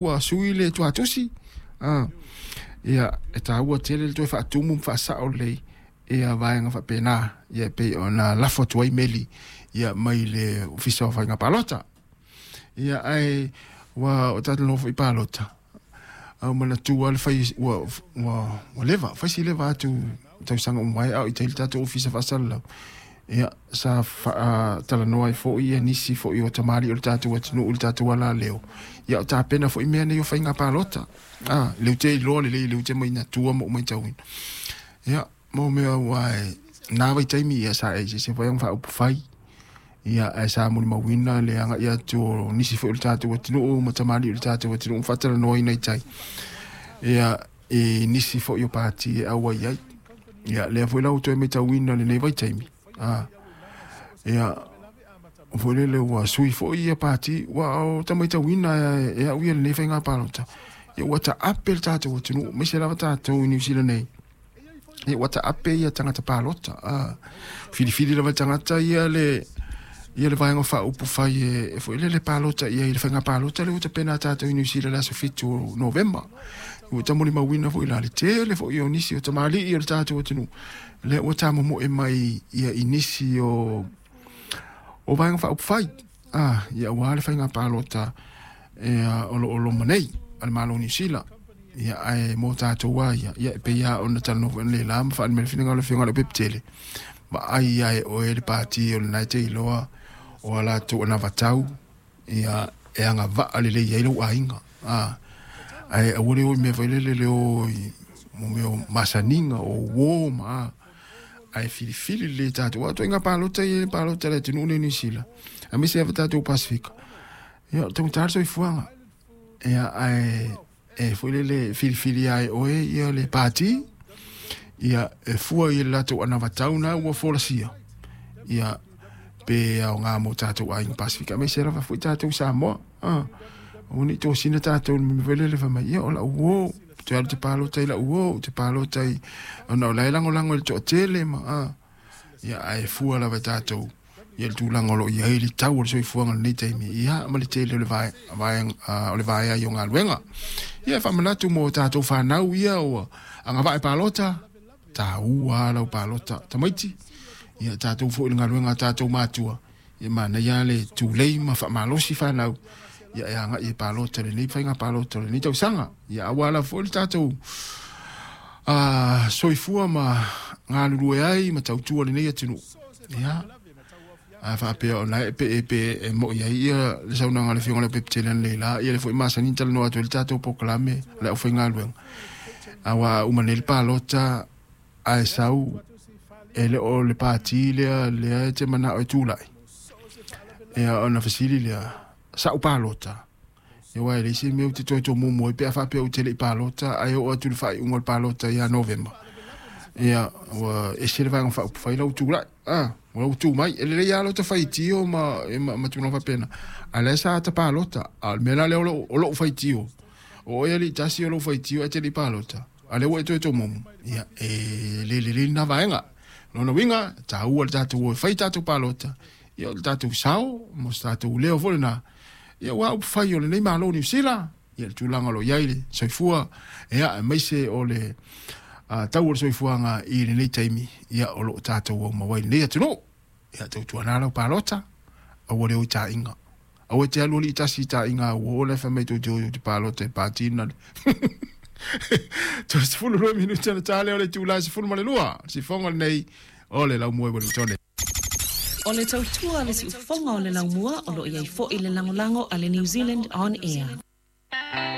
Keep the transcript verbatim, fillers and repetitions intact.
Ua sui le tuatusi. Ah, ia e tāua tele le toe faatumu ma faasao lelei ia vaega faapena, ia e pei ona lafo atu ai meli ia mai le Ofisa o Faiga Palota. Ia ae ua o tatou nofo i palota au manatua le fai ua ua ua leva fai si leva atu tausaga uma ai ao i tai le tatou ofisa faasalalau. Ia sa faatalanoa ai foi ia nisi foi o tamalii o le tatou atunuu i le tatou alaleo. Ia o tapena foi mea nei o faiga palota. Ah, leu te iloa lelei leu te mainatua ma ou matauina. Ia, mo mea ua e nā vaitaimi ia sa e se foi ang faaupufai. Ia ae sa molimauina le agai atu o nisi foi o le tatou atunuu ma tamalii o le tatou atunuu faatalanoaina i tai. Ia i nisi foi o pati e auai ai. Ia lea foi la ua toe matauina lenei vaitaimi. Ah, ia foi lele ua sui foi ia pati ua o tamaitauina e, e au ia lenei faiga palota. Ia ua taape le tatou atunuu, aemaise lava tatou i Niu Sila nei. Ia ua taape ia tagata palota. Ah, filifili lava le tagata ia le ia le vaega faaupufai e, e foi lele palota ia i le faiga palota le ua tapena tatou i Niu Sila le aso fitu o Novema. Ua tamolimauina foi la le tele foi o nisi o tamalii o le tatou atunuu lea ua tamomoe mai ia i nisi o o vaega faaupufai. Ah, ia aua le faiga palota e o lo o loma nei a le Malo o Niu Sila. Ia ae mo tatou a ia, ia e pei lava ona talanoa foi le la ma faaali mai le finagalo o le Afioga i le Pepetele. Vaai ai oe le pati o lena e te iloa o a latou anavatau ia e agavaa lelei ai lou aiga. Ah, ae aua le o i mea foi lele le o i mo mea o masaniga o uo ma ae filifili lelei tatou. Aua ituaiga palota ia palota a le atunuu lenei o Niu Sila, aemaise lava tatou Pasefika. Ia o taugata le soifuaga. Ia ae e foi lele filifili ai oe ia le pati ia e fua i le latou anavatau na ua folasia. Ia pe aoga mo tatou aiga Pasefika aemaise lava foi tatou Samoa. Ah, aua ne i tosina tatou i le mea foi lele fai mai, ia o lau uo, toe alu te palota i lau uo, te palota i ona o la e lagolago i le toatele ma ah, ia ae fua lava e tatou ia le tulaga o lo o i ai le tau o le soifuaga i lenei taimi, ia ma le tele o le vae, vae, uh, o le vaea i o galuega. Ia e faamanatu mo tatou fanau ia ua agavaa e palota, taua lau palota tamaiti. Ia tatou foi i le galuega a tatou matua, ia manaia le tulei ma faamalosi fanau ia e agai e palota lenei faiga palota o lenei tausaga. Ia aua lava foi le tatou uh, soifua ma galulue ai ma tautua lenei atunuu. Ia a faapea ona e pe e pe e moi ai ia le saunoaga a le Afioga i le Pepetele analeila, ia le foi masani talanoa atu ai le tatou polokalame le aufaigaluega. Aua uma nei le palota ae sau e le o le pati lea lea e te manao e tulai. Ia ona fesili lea, sa'u palota. Ia aua e leai se mea ou te toe tomumu ai pe a faapea ou te le i palota ae oo atu i le faaiuga o le palota ia Novema. Ia ua ese le vaega faaupufai lau tulai. Ah, ua lau tu mai. E lelei lava lota faitio ma, ma, ma tulaga faapena. A lea sa ta palota. A o le mea la lea o lou, o lou faitio. O oe alii tasi o lou faitio ae te le i palota. A lea ua e toe tomumu. Ia e le lelei lena vaega. Lona uiga, taua le tatou o e fai tatou palota. Ia o le tatou sao mo se tatou leo foi lena. Ia ua upufai o lenei Malo o Niu Sila. Ia le tulaga o lo o i ai le soifua. Ia aemaise o le uh, tau o le soifuaga i lenei taimi. Ia o lo o tatou aumau ai lenei atunuu. Ia tautuana lau palota. Aua le o i taaiga. Aua te alu alii tasi i taaiga ua o le fai mai tou te o i te palota e pati na le. Sefulu lua minute na ta lea o le itula e sefulu ma le lua. Sifoga lenei o le Laumua i Ueligitone. O le tautua le siufofoga o le laumua o lo o i ai foi le lagolago a le New Zealand On Air.